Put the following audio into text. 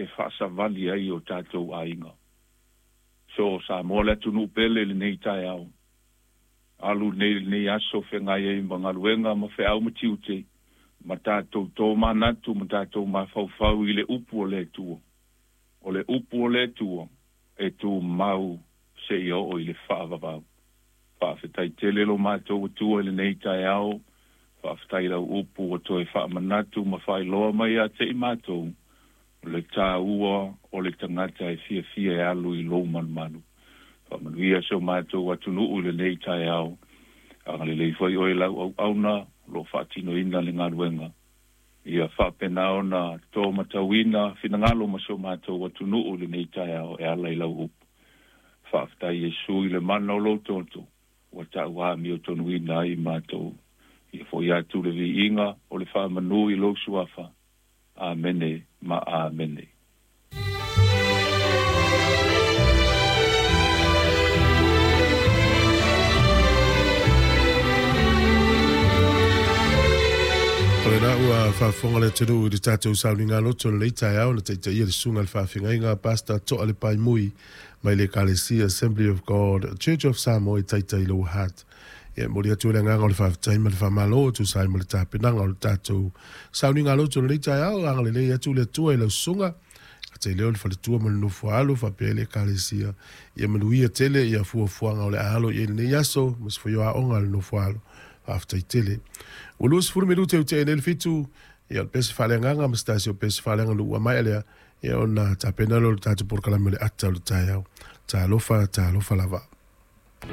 e faasavali ai o tatou aiga. So Samoa le atunuu pele i lenei taeao, alu nei lenei aso feagai ai ma galuega ma feau ma tiute, ma tatou tomanatu ma tatou mafaufau i le upu o le Atua. O le upu o le Atua e tumau seia oo i le faavavau. Faafetai tele lo matou Atua i lenei taeao, faafetai i lau upu ua toe faamanatu ma faailoa mai ia te i matou le taua o le tagata e fiafia e alu i lou malumalu. Faamanuia si o matou atunuu i lenei taeao, agalelei foi oe i lau auauna o lo o faatinoina le galuega, ia faapena ona tomatauina finagalo ma si o matou atunuu i lenei taeao e ala i lau upu. Faafetai Iesu i le mana o lou toto ua tauamiotonuina ai matou. Ia foi atu le viiga o le faamanu i lou suafa. Amene ma Amene. O lena ua faafofoga le atunuu i le tatou sauniga loto i lenei taeao na taitaia le susuga i le faafeagaiga Pastor Toa Lepaimui mai le Ekalesia Assembly of God Church of Samoa i Taitai Lower Hutt. Ia e momoli atu ai le agaga o le faafetai ma le faamalo e tusa ai ma le tapenaga o le tatou sauniga loto i lenei taeao. Agalelei atu le Atua i lau susuga, ka leo le faletua ma le nofo alo faapea ai le Ekalesia. Ia manuia tele ia fuafuaga o le a alo i ai lenei aso ma se foi o aoga a le nofo alo. Faafetai tele. Ua 20 minute ua tea nei le 7, ia o le pese faaleagaga ma se tasi o pese faaleaganuu ua maea lea, ia ona tapena lea o le tatou polokalame o le ata o le taeao. Talofa, talofa lava.